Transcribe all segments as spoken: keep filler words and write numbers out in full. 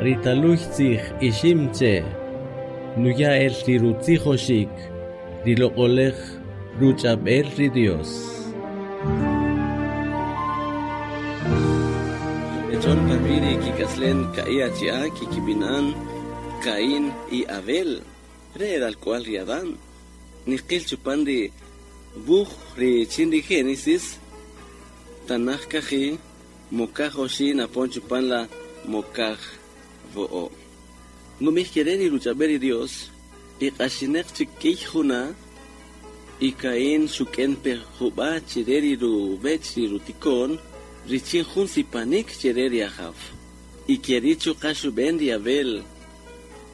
Ri taluy tzij ixim che, nuya el ri rutzijoxik, ri loq'olej ruch'ab'el ri Dios. Echon parviri kikaslen ka'i achia kikibinan Caín y Abel, re al cual ri Adán. Niqil chupan ri buj ri chin ri Génesis, tanaj kaji, mokaj oxi napon chupan la mokaj vo'o. Numij kereri ruchaberi Dios, y q'axineq chik juna, y Caín xuken pe juba chireri rubech ri rutikon, richin jun sipanik chireri ajaw. Y kerichu qaxuben ri Abel,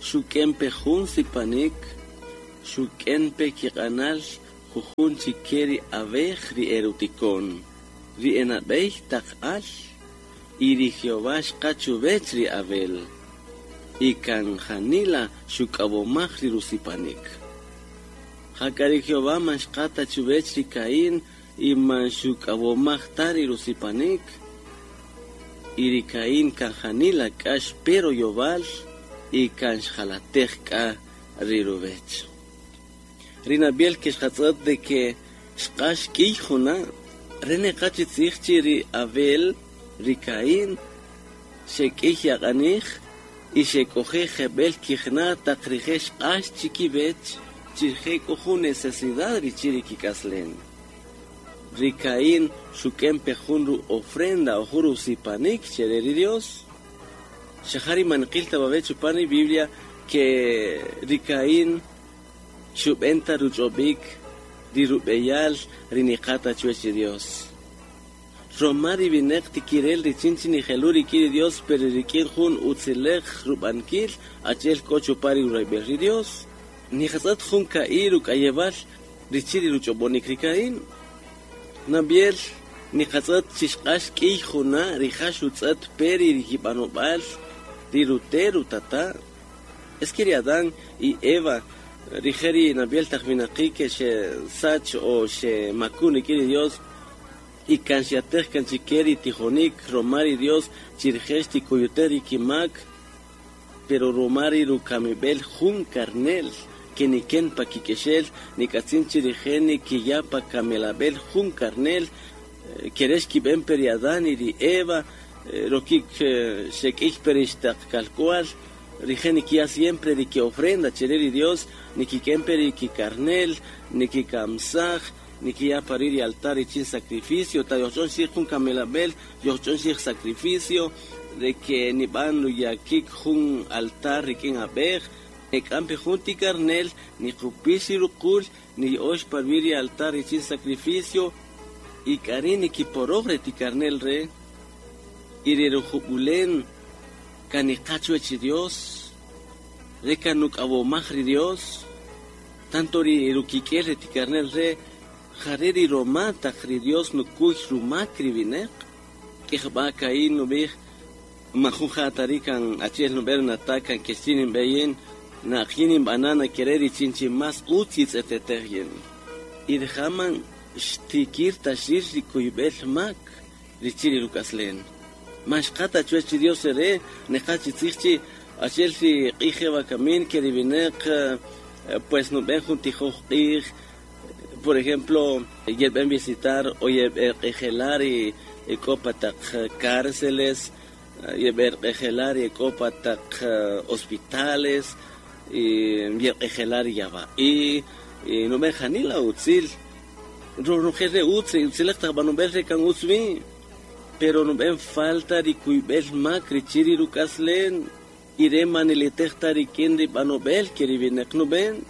xuken pe jun sipanik, xuken pe kiq'anal jujun chikeri abej ri erutikon, ri enabej taq al, y ri Jehová xqachubech ri Abel. Y kan janila xuk'awomaj ri rusipanik. Jak'a ri Jehová man xqata chubech ri Caín y man xuk'awomaj ta ri rusipanik. Y ri Caín kan janila k'ax pero yobal y kan xjalatej k'a ri rubech. Ri Nabiel ke xqatz'ët de que xq'ax k'iy juna, rene qachitzij chi ri Abel, ri Caín, xek'iy yaq'anij, y xek'oje jeb'el kijna taq rije' xq'ax chikib'ech, chirje k'o jun necesidad richin ri kik'aslen. Ri Caín xuk'en pe jun ru ofrenda o jun rusipanik chere ri Dios. Xajari manqil tababe chupan ri Biblia que ri Caín xub'enta ruch'ob'ik ri rub'eyal ri niqata chuwach ri Dios. Roma ri vineq tikirel richin chi nijelu rik'in ri Dios, pero rik'in jun utzilej rub'ankil achi'el k'o chupan ri rurayb'el ri Dios. Nijatz'at jun ka'i ruk'ayewal richin ri ruch'ob'onik ri Caín. Nabiel niqatz'at chi xq'ax k'iy juna rija' xutz'ët pe ri kib'anob'al ri rute' rutata'. Es que ri Adán y Eva rije' ri Nabiel taq winaqi' ke xesach o xemakun rik'in ri Dios, y kan xyatej kan chike ri tijonik roma ri Dios chirije' xtikuyutej ri kimak, pero roma ri rukamib'el jun karnel ke niken pa kik'exel nik'atzin chirije' nikiya pa kamelab'el jun karnel kerex kib'en pe ri Adán y ri Eva rokik xek'ij pe ri xtaq kalk'wal rije' nikiya siempre ri ki ofrenda chere ri Dios nikik'en pe ri kikarnel nikikamsaj nikiya pari ri altar richin sacrificio ta yoch'on xij jun kamelab'el yoch'on xij sacrificio de que nib'an ruyakik jun altar rik'in ab'ej nik'an pe jun ti karnel niqupix ri ruqul niya'ox parwi ri altar richin sacrificio y k'ari' nikiporoj ri ti karnel re y ri rujub'ulen kan niqa chuwach ri Dios re kan nuk'awomaj ri Dios tanto ri rukik'el ri ti karnel re jare ri roma taq ri Dios nukuy rumak ri vineq k'ijb'a Caín nub'ij majun ja'tari kan achi'el nub'el nata' kan kextin inb'eyin na'qyin inb'ana nakere richin chi mas utz yitz'etetej yin y rija' man xtikir ta xir ri kuyb'el mak richin ri ruk'aslen man xqata chuwach ri Dios re neqa chitzij chi achi'el ri q'ij wakamin ke ri vineq pues nub'en jun tijoj q'ij. Por ejemplo, yeb'en visitar o yeb'en q'ejelar y k'o pa taq cárceles, yeb'en q'ejelar y k'o pa taq hospitales, y yeb'en yaba'i, y nub'en janila utzil. Ronojel re utz, utzilej taq b'anob'el re kan utz wi, pero nub'en falta ri kuyb'el mak richin ri ruk'aslen, y re manilitej ta rik'in ri b'anob'el ke ri vineq nub'en.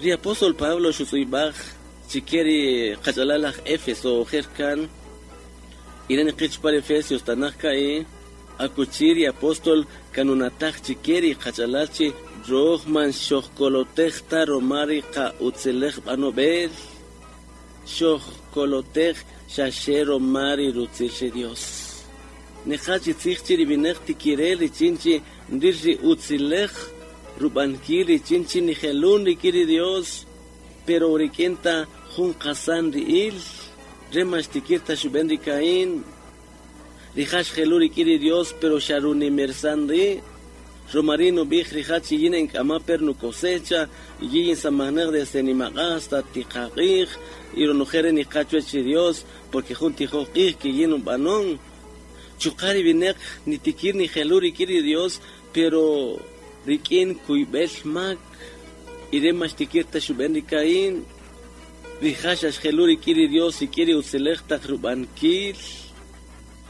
Ri apóstol Pablo xutz'ib'aj chike ri qach'alal aj Éfeso ojer kan, y re niqich par Efesios tanaj ka'i, akuchi ri apóstol kanunataj chike ri qach'alal chi roj man xojkolotej ta roma ri qa'utzilej b'anob'el, xojkolotej xaxe roma ri rutzil ri Dios. Neqa chitzij chi ri vineq tikirel richin chi nrir ri utzilej rub'ankil richin chi nijelun rik'in ri Dios, pero rik'in ta jun qasan ri'il, re man xtikir ta xub'en ri Caín. Rija' xjelu rik'in ri Dios, pero xa runimersan ri'. Romarino bij rijachi yin enkama per nu cosecha, yin samaner desde nimaga hasta tiqaqij, y ronojere ni cachuechi Dios, porque junti joqij que yin un banón. Chuqari binek ni tikir ni jeluri kiri Dios, pero rikin kuibel mak, ire mas tikir tashuben rikain, rijashash jeluri kiri Dios y kiri utzelej rubankil.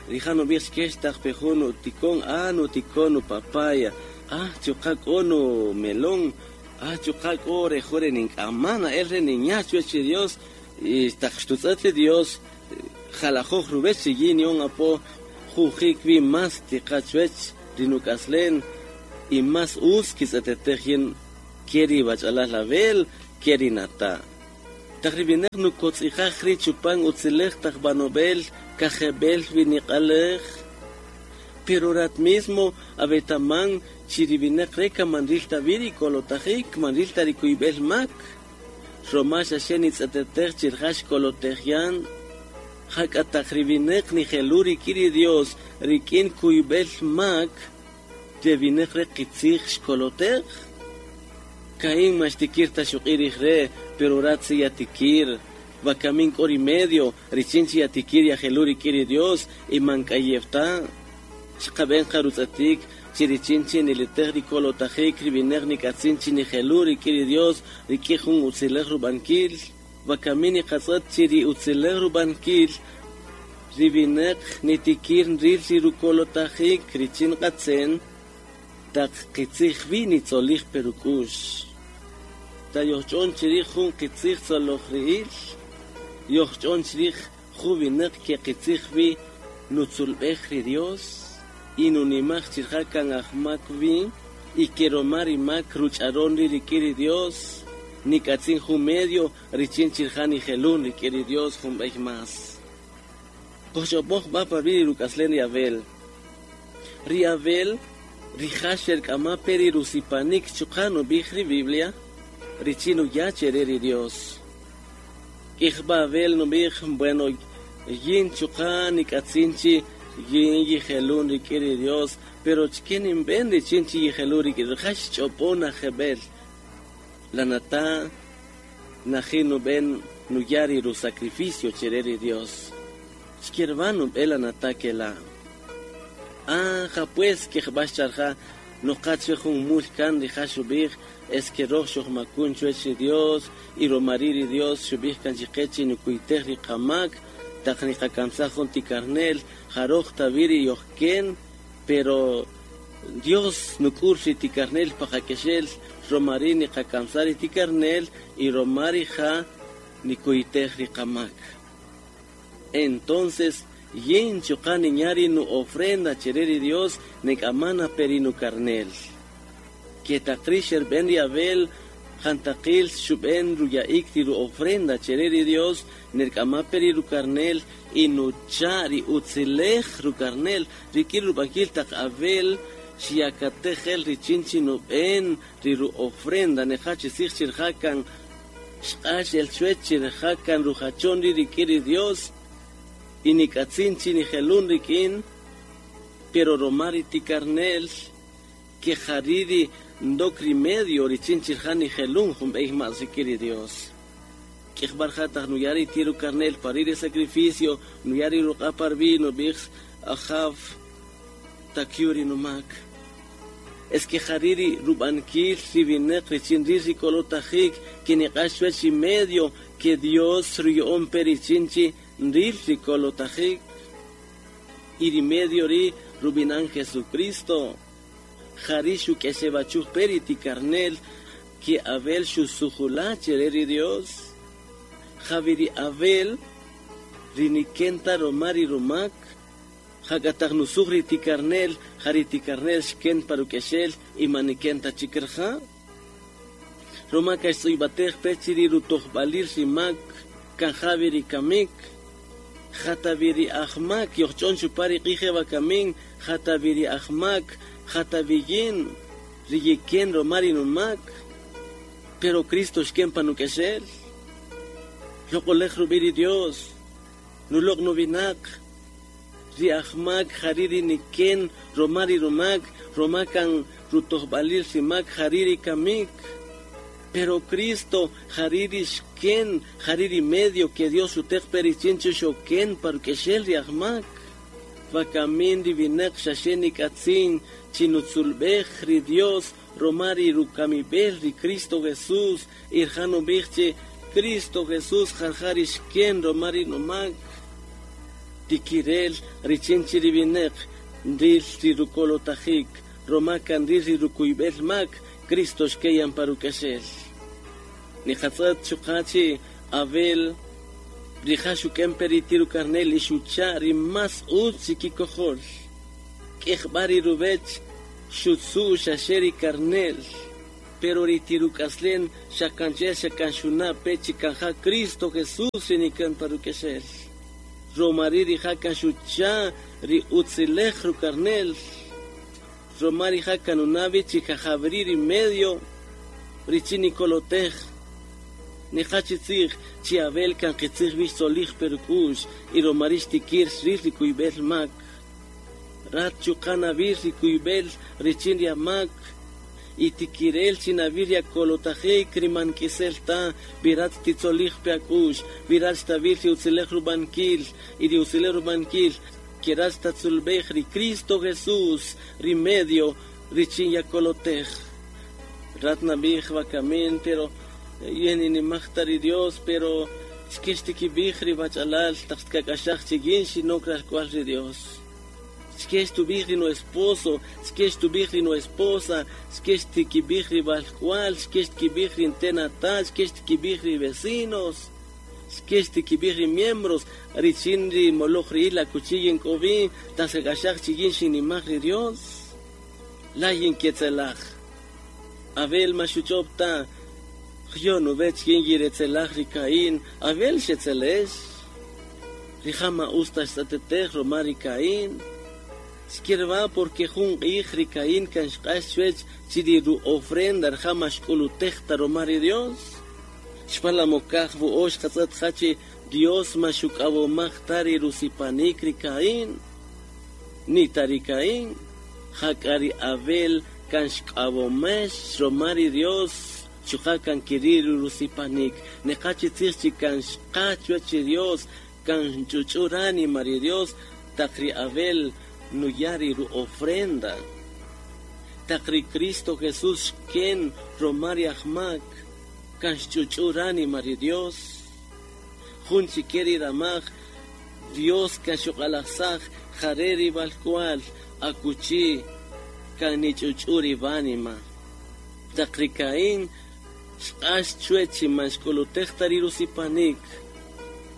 Rijano bij kesh pejono tikon, ah no tikon papaya. Ah, chuqak ono melón, ah, chuqak ore jore ninkamana, erre niñacho eche Dios, y taxtutzate Dios, jalajoj rubeche yinion apo, jujik vi mas tiqachuech, rinukaslen, y mas us kisatetejien, keri bachalaj label, keri nata. Taxribinek nukotzijajri chupan utzilej tajbanobel, kajebel viniqalej. Pero rat mismo, abetaman, chiribinek reka manrilta viri kolotajik, manrilta rikuibel mak. Romasha shenitz atetej chirjash kolotejian. Jak atajribinek nijeluri kiri Dios, rikin kuibel mak, tebinek rekitzij xkolotej. Caín mashtikir tashuqirij re, pero ratzi yatikir. Bakamin kori medio, richinchi yatikir yajeluri kiri Dios, y mankayefta. Xqaben qarutzatik, chirichinchi nilitej rikolotajik, ribinej nikatzinchi nijeluri kiri Dios, rikijun utzilej rubankil. Bakamini qatzat chiri utzilej rubankil, ribinej nitikir nril rukolotajik, richin qatzen, taq qitzij vi nitzolij perukush. Ta yochon chirij jun qitzij tzoloj ri'il, yochon chirij jubinej ke qitzij vi nutzulb'ej ri Dios. Inunimaj chirjakan ajmak vi, y keromar mak rucharon rikiri Dios, nikatzin jun medio, richin chirjan y jelun rikiri Dios jun bej mas. Kochopoj va pa vi rukaslen riabel. Riabel, rijasher kama peri rusipanik chukano bijri Biblia, richinu yachere Dios. Ijba Abel no bij, bueno, yin chukan nikatzinchi, yin yijelun rikiri Dios, pero chkinin ben richinchi yijelun rikiri, jash chopona jebel. La nata, najinu ben nuyari ru sacrificio chereri Dios. Chkirvanu bela nata kela. Ah, ja pues que jbasharja, no cache jun mulkan rijashubij, es que rojo makun chuechi Dios, y romariri Dios, shubij kanchiqechi nukuitej riqamak, taqniqakamsajon tikarnel, jaroj tabiri yohken, pero Dios nukursi tikarnel pajakeshel, romarini qakamsari tikarnel, y romari ja nikuitej riqamak. Entonces, yin chuqani ñari nu ofrenda chereri Dios, nekamana perinu karnel. Que taqrisher ben riabel, jantaqil shuben ruyaik tiru ofrenda chereri Dios, nerkama periru karnel, y nuchari utzilej ru karnel, rikir rubakil taq abel, shiakatejel richinchi nuben, riru ofrenda, nejachi sich jakan, xqash el chuechir jakan rujachon rikiri Dios, y nikatzinchi nijelun rikin, pero romari tikarnel, que jariri ndokri medio richinchi jani jelun jumbeij mazikiri Dios. Kejbarjataj nuyari tiru karnel pariri sacrificio, nuyari ruqapar vino bix ajav takyuri numak. Es que jariri rubankil ribinek richin rikolotajik, que niqashwechi medio, que Dios ruyon perichinchi nril rikolotajik. Iri medio ri rubinan Jesucristo. Jarishu que se bachuj periti karnel, que Abel shusujula chereri Dios. Javiri Abel, rinikenta romari romak, Hakataj nusugri tikarnel, jariti karnel shken parukeshel, y manikenta chikerja. Romaka estoy pechiri rutojbalir shimak, kanjaviri kamik, Jataviri ahmak, yochon chupari qije bakamin, Jataviri ahmak, Jataviyin, riyiken romari numak, pero Cristo shken panukeshel. Lokolej rubiri Dios, nulok nubinak, Ri ajmak jariri niken romari romak romakan rutojbalil rimak jariri kamik. Pero Cristo jariri xken jariri medio que Dios utek perichincho xoken parukexel ri ajmak. Vakamin rivinek xaxenik atzin chinutzulbej ri Dios romari rukamibel ri Cristo Jesús irjano biche Cristo Jesús jarjari xken romari nomak. Tikirel richinchi rivinek ril ri rukolotajik romakan ril ri rukuibel mak Cristo xkeyan parukexel. Niqatzat chuqachi Abel rija xuken peritiru karnel ixucha ri mas utz kikojol. K'ejb'ari rubech xutzu xaxeri karnel. Pero ritiruk'aslen xakanche xakanxuna pechi kanja Cristo Jesús rinikan parukexel. Romari rija kanxucha ri utzilej rukarnel. Romari ja kanunavi chikajabri ri medio richinikolotej. Niqachitzij chi Abel kan qitzij bix solij peruk'ux y romarish tikir xril rikuybel mak. Rat chuqanabir rikuybel richin riamak y tikirel chinabir yakolotajik rimankisel ta virat titzolij peak'ux virat xtabir riutzilej rubankil y riutzilej rubankil kirat xtatzulbej ri Cristo Jesús rimedio richin yakolotej. Rat nabij wakamin pero yeni ni mahtari Dios pero xkixtikibij ri bachalal taqtkak'axaj chigin xinokral kual ri Dios. Xkextubij ri no esposo, xkextubij ri no esposa, xkextikibij ri balkual, xkextikibij ri ntenata, xkextikibij ri vecinos, xkextikibij ri miembros, richin ri moloj ri ila kuchiyin k'obi, tasak'axaj chigin xinimaj ri Dios. Layin ketzelaj. Abel maxuchopta yo no vech quien yiretzelaj ri Caín, Abel xetzelex. Rijama usta xtatetej romari Caín. Xkirba porque jun q'ij ri Caín kan xq'ax chuwech chiri ru ofrenda rjama xk'ulutejta romari Dios. Xpalamokaj bu'ox qatz'et jachi Dios maxuk'awomaj tari rusipanik ri Caín. Ni tari Caín, jak'ari Abel kan xk'awomex romari Dios. Chuqakan kiriru rusipanik neqachi tzij kan xqa chuwach Dios kan chuch'urani mari Dios taqri Abel nuyari ru ofrenda taqri Cristo Jesús xken romari ajmak kan xchuch'urani mari Dios jun chikeri ramaj Dios kan xuq'alajsaj jareri balkual akuchi kan nich'uch'uri banima taqri Caín xq'ax chuwech maxk'ulutej tari rusipanik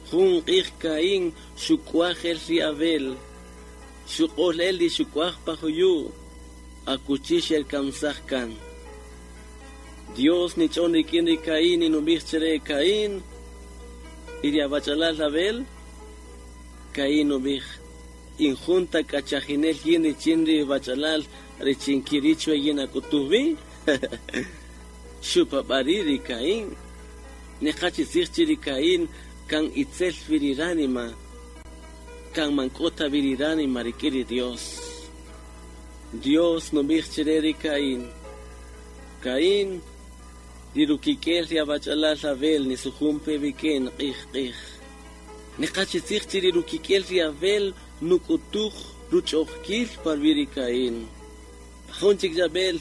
jun q'ij Caín xuk'waj el ri Abel xuq'ol el ri xuk'waj pajuyu akuchi xelkamsaj kan Dios nich'on rik'in ri Caín inub'ij chere Caín y ri abachalal Abel Caín ub'ij injunta k'achajinel yin richin ri bachalal richin kirichwe yin ak'utujbi xupab'ari ri Caín neqachi tzij chi ri Caín kan itzel viriranima kan mank'ota viriranima rik'in ri Dios. Dios nub'ij chire ri Caín Caín rirukik'el ri abachalal Abel nisujumpe bik'in q'ij q'ij neqachi tzij chi ri rukik'el ri Abel nuk'utuj ruch'ojkil parwi ri Caín jun chik Abel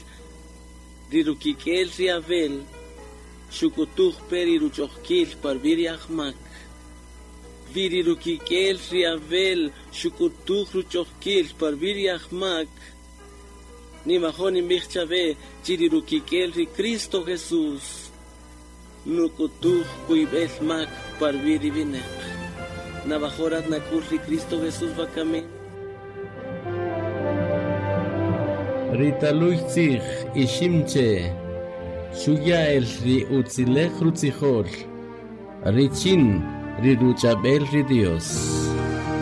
rirukik'el ri Abel xukutuj peri ruch'ojkil parwi ri ajmak virirukik'el ri Abel xukutuj ruch'ojkil parwi ri ajmak nimajon inb'ij chawe chirirukik'el ri Cristo Jesús nukutuj kuyb'el mak parwi ri bineq navajorat nakul ri Cristo Jesús wakamin. Ritaluy tzij iximche xuya el ri utzilej rutzijol richin ri ruchabel ri Dios.